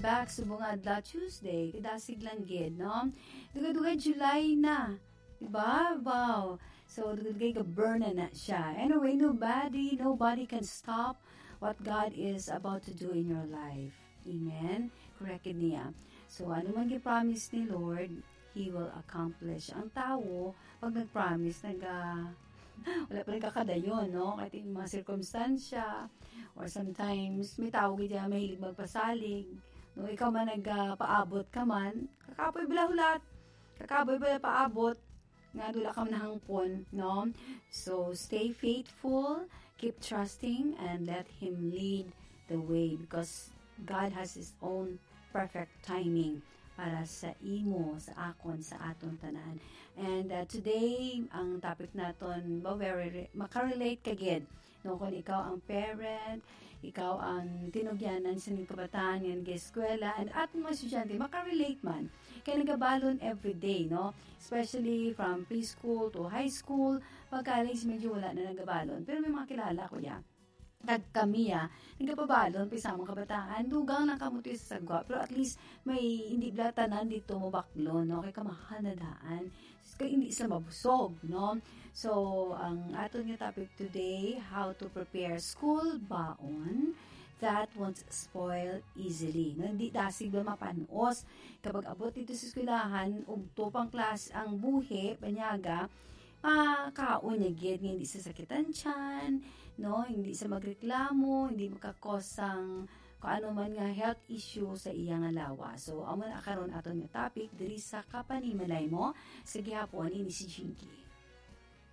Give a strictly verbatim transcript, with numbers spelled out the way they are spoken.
Back subong nga adlaw Tuesday, kadasig lang gid, no? Dugay-dugay July na. Diba? Wow. So, dugay-dugay ga-burn na na siya. Anyway, nobody, nobody can stop what God is about to do in your life. Amen? Correct gid niya. So, ano man gi-promise ni Lord, He will accomplish. Ang tawo, pag nag-promise, naga, wala pa rin kakadayon, no? Kahit yung mga sirkumstansya, or sometimes, may tao gid yan mahilig magpasalig. No, ikaw man nagpaabot ka man, kakapoy bala hulat, kakapoy bala paabot, nga wala ka man nahangpon, no? So, stay faithful, keep trusting, and let Him lead the way, because God has His own perfect timing para sa imo, sa akon, sa aton tanan. And, uh, today, ang topic naton, ba, very re-, makarelate ka gid, no? Kung ikaw ang parent, ikaw ang tinugyanan sa inyong kabataan nga nag-eskwela, and aton mga estudyante, makarelate man. Kaya nagabalon everyday, no? Especially from preschool to high school, pag college, medyo wala na nagabalon. Pero may mga kilala ko ya. Kag kami, ah, nagapabalon pa sa mga kabataan. Dugang lang kamo to sa sagwa, pero at least may hindi bala tanan dito mabaklon, no? Kay kamahal na daan. Kay hindi sila mabusog, no? So, ang aton nga topic today, how to prepare school baon that won't spoil easily, no? Hindi dasig ba mapanos kapag abot dito sa eskwelahan, ugto pang klase ang buhi, banyaga, makaon niya gid nga hindi sasakitan tiyan, no? Hindi sa magreklamo, hindi makakos sang kung ano man nga health issue sa iya nga lawas. So, amo na karon aton nga topic diri sa Kapanimalay Mo sa gihapon ini si Jinky.